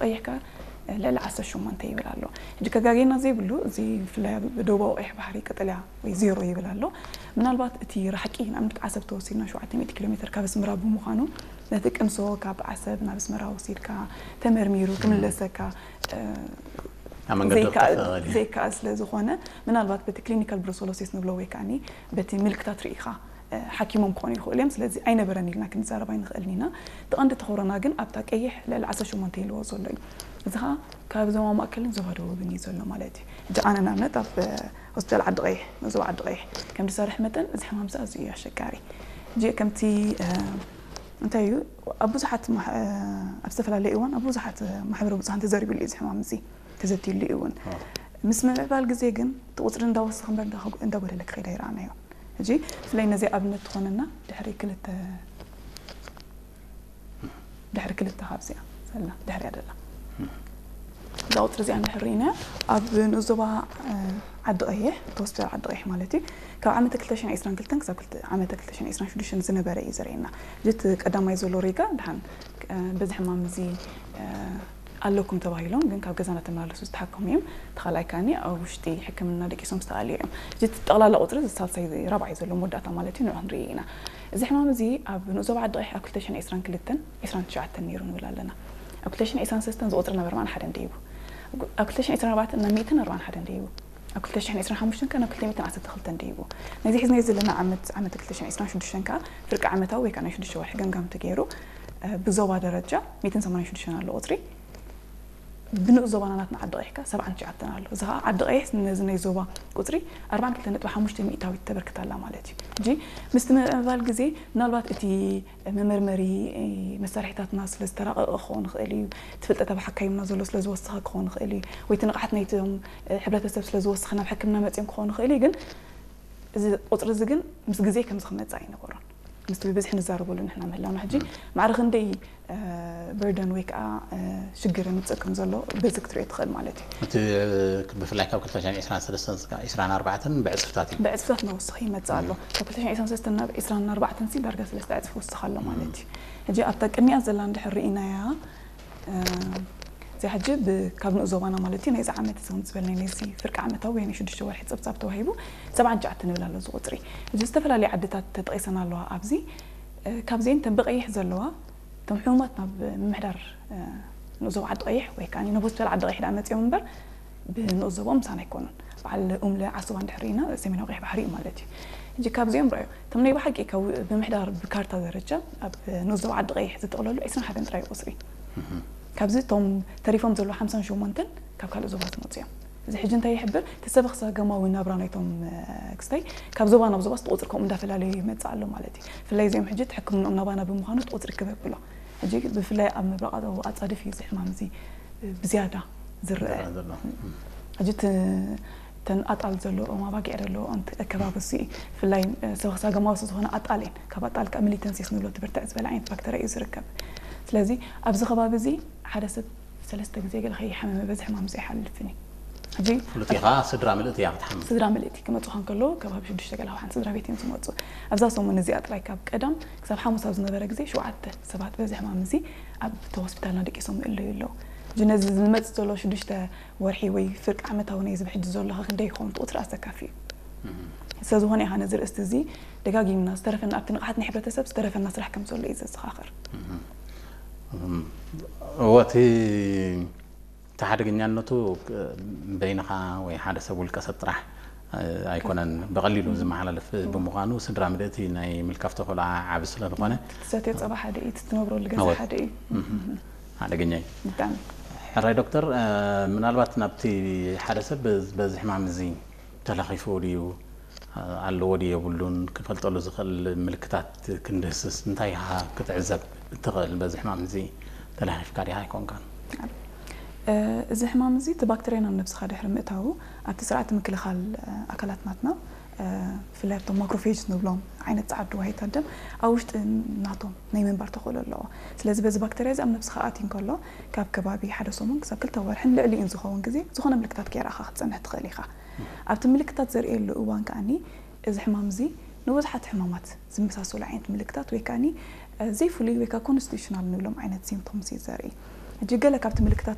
ቀይሕ ከኣ ልዕሊ ዓሰርተ ሸሞንተ ይብል ኣሎ። ሕጂ ከጋጌና ዘይብሉ እዚ ብፍላይ ኣብ ደቡባዊ ቀይሕ ባሕሪ ቀጠልያ ወይ ዜሮ ይብል ኣሎ። ምናልባት እቲ ራሕቂ ንኣብነት ዓሰብ ተወሲድና ሸውዓተ ሚእቲ ኪሎ ሜትር ካብ ኣስመራ ብምዃኑ ነቲ ቅምሶ ካብ ዓሰብ ናብ ኣስመራ ወሲድካ ተመርሚሩ ክምለሰካ ኣብ መንገዲ ዘይከኣል ክጠፍእ ይኽእል እዩ። ዘይከኣል ስለ ዝኾነ ምናልባት በቲ ክሊኒካል ብሩሰሎሲስ ንብሎ ወይ ከዓኒ በቲ ምልክታት ርኢኻ ሓኪሞም ክኾኑ ይኽእሉ እዮም። ስለዚ ኣይነበረን ኢልና ክንዛረብ ኣይንኽእልን ኢና። እቲ ቀንዲ ተኾሮና ግን ኣብታ ቀይሕ ልዕሊ ዓሰርተ ሸሞንተ ኢልዎ ዘሎ እዩ። እዚ ኸዓ ካብ ዞባ ማእከልን ዞባ ደቡብን እዩ ዘሎ ማለት እዩ። ሕጂ ኣነ ንኣብነት ኣብ ሆስፒታል ዓዲ ቀይሕ፣ ዞባ ዓዲ ቀይሕ ከም ዝሰርሕ መጠን እዚ ሕማም እዚ ኣዝዩ እዩ ኣሸጋሪ። ሕጂ ከምቲ እንታይ እዩ ኣብ ብዙሓት ኣብ ዝተፈላለዩ እዋን ኣብ ብዙሓት ማሕበራዊ ብዙሓን ተዘሪብሉ እዩ እዚ ሕማም እዚ ተዘትዩሉ እዩ እውን። ምስ ምምዕባል ግዜ ግን እቲ ቁፅሪ እንዳወሰኸ እምበር እንዳጎደለ ክኸይድ ኣይረኣናዮ። ሕጂ ብፍላይ ነዚ ኣብነት ትኾነና ድሕሪ ክልተ ድሕሪ ክልተ ካብዚኣ ዘላ ድሕሪያ ዘላ እዛ ቁፅሪ እዚኣ እንድሕር ርኢና ኣብ ንኡስ ዞባ ዓዲ ቀይሕ ተወስደ ዓዲ ቀይሕ ማለት እዩ ካብ ዓመተ ክልተ ሽሕን ዕስራን ክልተን ክሳብ ዓመተ ክልተ ሽሕን ዕስራን ሽዱሽተን ዝነበረ እዩ ዘርእየና። እዚ እቲ ቀዳማይ ዘሎ ሪጋ ድሓን በዚ ሕማም እዚ ኣለኩም ተባሂሎም ግን ካብ ገዛ እናተመላለሱ ዝተሓከሙ እዮም። እቲ ካልኣይ ከዓኒ ኣብ ውሽጢ ሕክምና ደቂሶም ዝተኣልዩ እዮም። እዚ ጠቕላላ ቁፅሪ እዚ ሳልሳይ ራብዓይ ዘሎ መወዳእታ ማለት እዩ ንዑ ክንርኢ ኢና። እዚ ሕማም እዚ ኣብ ንኡስ ዞባ ዓዲ ቀይሕ ኣብ ክልተ ሽሕን ዕስራን ክልተን ዕስራን ትሽዓተን ነይሩ ንብል ኣለና። ኣብ ክልተ ሽሕን ዕስራን ሰለስተን እዚ ቁፅሪ ናብ ኣርባዓን ሓደን ደይቡ። ኣብ ክልተ ሽሕን ዕስራን ኣርባዕተን ናብ ሚእትን ኣርባዓን ሓደን ደይቡ። ኣብ ክልተ ሽሕን ዕስራን ሓሙሽተን ከኣ ናብ ክልተ ሚእትን ዓሰርተ ክልተን ደይቡ። ነዚ ሒዝናዮ ዘለና ዓመት ዓመት ክልተ ሽሕን ዕስራን ሽዱሽተን ከኣ ፍርቂ ዓመታዊ ወይ ከኣ ናይ ሽዱሽተ ወርሒ ገምጋም ተገይሩ ብዞባ ደረጃ ሚእትን ሰማንያን ሽዱሽተን ኣሎ ቁፅሪ። ብንኡስ ዞባና ናትና ዓዲ ቀይሕ ከኣ ሰብዓን ትሽዓተን ኣሎ። እዚ ከኣ ዓዲ ቀይሕ ነዚ ናይ ዞባ ቁፅሪ ኣርባዓን ክልተን ነጥቢ ሓሙሽተ ሚእታዊት ተበርክት ኣላ ማለት እዩ። ሕጂ ምስቲ ምምዕባል ግዜ ምናልባት እቲ መመርመሪ መሳርሒታትና ስለ ዝተራቐቐ ክኸውን ይኽእል እዩ። እቲ ፍልጠት ኣብ ሓካይምና ዘሎ ስለ ዝወሰኸ ክኸውን ይኽእል እዩ። ወይ እቲ ንቕሓት ናይቶም ሕብረተሰብ ስለ ዝወሰኸ ናብ ሕክምና መፂኦም ክኸውን ይኽእል እዩ። ግን እዚ ቁፅሪ እዚ ግን ምስ ግዜ ከምዚ ክመፅእ ኣይነበሮን። ምስቲ ብብዝሒ ንዛረበሉ ንሕና ምህላውና ሕጂ ማዕረ ክንደይ በርደን ወይ ከዓ ሽግር የምፅእ ከም ዘሎ በዚ ክትሪኦ ትኽእል ማለት እዩ። እቲ ብፍላይ ካብ ክልተ ሽሕን ዕስራን ሰለስተን እስካብ ዕስራን ኣርባዕተን ብዕፅፍታት እዩ። ብዕፅፍታት እናወሰኸ ይመፅእ ኣሎ። ካብ ክልተ ሽሕን ዕስራን ሰለስተን ናብ ዕስራን ኣርባዕተን ሲ ዳርጋ ሰለስተ ዕፅፊ ወስኽ ኣሎ ማለት እዩ። ሕጂ ኣብታ ቅድሚኣ ዘላ እንድሕር ርኢናያ እዚ ሕጂ ካብ ንኡስ ዞባና ማለት እዩ ናይዚ ዓመት እዚ ከም ዝበልናዮ ናይዚ ፍርቂ ዓመታዊ ወይ ናይ ሽዱሽተ ወርሒ ፀብፃብ ተዋሂቡ ሰብዓን ትሽዓተን ይብል ኣሎ እዚ ቁፅሪ። እዚ ዝተፈላለዩ ዓድታት ተጠቒሰን ኣለዋ ኣብዚ ካብዚአን ተን ብቐይሕ ዘለዋ እቶም ሕሙማት ናብ ምምሕዳር ንኡስ ዞባ ዓዲ ቀይሕ ወይ ከዓ ናብ ሆስፒታል ዓዲ ቀይሕ ደኣ መፂኦም እምበር ብንኡስ ዞባኦም ምሳና ኣይኮኑን። በዓል ኡምለ ዓሱባ እንድሕር ርኢና ሰሜናዊ ቀይሕ ባሕሪ እዩ ማለት እዩ። ሕጂ ካብዚኦም ረኣዩ እቶም ናይ ብሓቂ ካብ ምምሕዳር ብካርታ ደረጃ ኣብ ንኡስ ዞባ ዓዲ ቀይሕ ዝጥቕለሉ ዕስራን ሓደን ጥራይ ቁፅሪ ካብዚ እቶም ተሪፎም ዘለዉ ሓምሳን ሸሞንተን ካብ ካልእ ዞባ ዝመፁ እዮም። እዚ ሕጂ እንታይ ይሕብር? እቲ ሰበኽ ሰገማዊ ናብራ ናይቶም ክስታይ ካብ ዞባ ናብ ዞባ እቲ ቁፅሪ ከምኡ እንዳፈላለዩ ይመፅእ ኣሎ ማለት እዩ። ብፍላይ እዚኦም ሕጂ እቲ ሕክምንኦም ናባና ብምዃኑ እቲ ቁፅሪ ክብ ኣብሎ። ሕጂ ብፍላይ ኣብ ምብራቓዊ ኣፃድፍ እዩ እዚ ሕማም እዚ ብዝያዳ ዝረአ። ዘሎ ሕጂ እቲ ተን ኣጣል ዘለኦም ኣባጊዕ ዘለኦም ኣከባቢ እዚ ብፍላይ ሰበኽ ሰገማዊ ዝኾነ ኣጣል እየን። ካብ ኣጣል ከዓ ሚሊተንሲስ ንብሎ ትብርትዕ ዝበለ ዓይነት ባክተርያ እዩ ዝርከብ። ስለዚ ኣብዚ ከባቢ እዚ ሓደ ሰብ ሰለስተ ግዜ ገለ ከይሓመመ በዚ ሕማም እዚ ኣይሓልፍን እዩ። ሕጂ ፍሉጥ ኢኻ ስድራ ምልእቲ እያ ክትሓምም። ስድራ ምልእቲ ክመፁኻ እንከለዉ ከባቢ ሽዱሽተ ገለ ሓንቲ ስድራ ቤት እዮም ዝመፁ። ኣብዛ ሰሙን እዚኣ ጥራይ ካብ ቀዳም ክሳብ ሓሙስ ኣብ ዝነበረ ግዜ ሸውዓተ ሰባት በዚ ሕማም እዚ ኣብ ሆስፒታልና ደቂሶም ይእለዩ ኣለዉ። ሕጂ ነዚ ዝመፅእ ዘሎ ሽዱሽተ ወርሒ ወይ ፍርቂ ዓመታዊ ናይ ዝብሕጂ ዘሎ ከ ክንደይ ይኸውን? እቲ ቁፅሪ ኣሰካፊ እዩ። ስለዝኾነ ኢኻ ነዚ ርእስቲ እዚ ደጋጊምና ዝተረፈና ኣብቲ ንቕሓት ናይ ሕብረተሰብ ዝተረፈና ስራሕ ከም ዘሎ እዩ ዘዘኻኽር። እወ እቲ እቲ ሓደገኛነቱ በይንኻ ወይ ሓደ ሰብ ውልቀ ሰብ ጥራሕ ኣይኮነን ብቐሊሉ ዝመሓላለፍ ብምዃኑ ስድራ ምልእቲ ናይ ምልካፍ ተኽእሎ ዓቢ ስለ ዝኾነ ትሰትዮ ጸባ ሓደ እዩ፣ እቲ ትነብረሉ ገዛ እወ። ሓደ እዩ። ሓደገኛ እዩ። ብጣዕሚ ሕራይ ዶክተር፣ ምናልባት ናብቲ ሓደ ሰብ በዚ ሕማም እዚ ተለኺፉ ድዩ ኣለዎ ድዩ የብሉን ክፈልጠሉ ዝኽእል ምልክታት ክንድህስስ እንታይ ኢኻ ክትዕዘብ እትኽእል? በዚ ሕማም እዚ ተለኺፍካ ዲኻ ኣይኮንካን? እዚ ሕማም እዚ እቲ ባክተርያ ናብ ነብስኻ ድሕሪ ምእታዉ ኣብቲ ስርዓተ ምክልኻል ኣካላት ናትና ብፍላይ ኣብቶም ማክሮፌጅ ንብሎም ዓይነት ጸዓዱ ዋሂታት ደም ኣብ ውሽጢ ናቶም ናይ ምንባር ተኽእሎ ኣለዎ። ስለዚ በዚ ባክተርያ እዚ ኣብ ነብስኻ ኣትዩ እንከሎ ካብ ከባቢ ሓደ ሰሙን ክሳብ ክልተ ወርሕን ልዕሊኡን ዝኸውን ግዜ ዝኾነ ምልክታት ከየርኣኻ ክትጸንሕ ትኽእል ኢኻ። ኣብቲ ምልክታት ዘርእየሉ እዋን ከኣኒ እዚ ሕማም እዚ ንብዙሓት ሕማማት ዝመሳሰሉ ዓይነት ምልክታት ወይ ከኣኒ ዘይፍሉይ ወይ ከዓ ኮንስቲቱሽናል ንብሎም ዓይነት ሲምፕቶምስ እዩ ዘርኢ። ሕጂ ገለ ካብቲ ምልክታት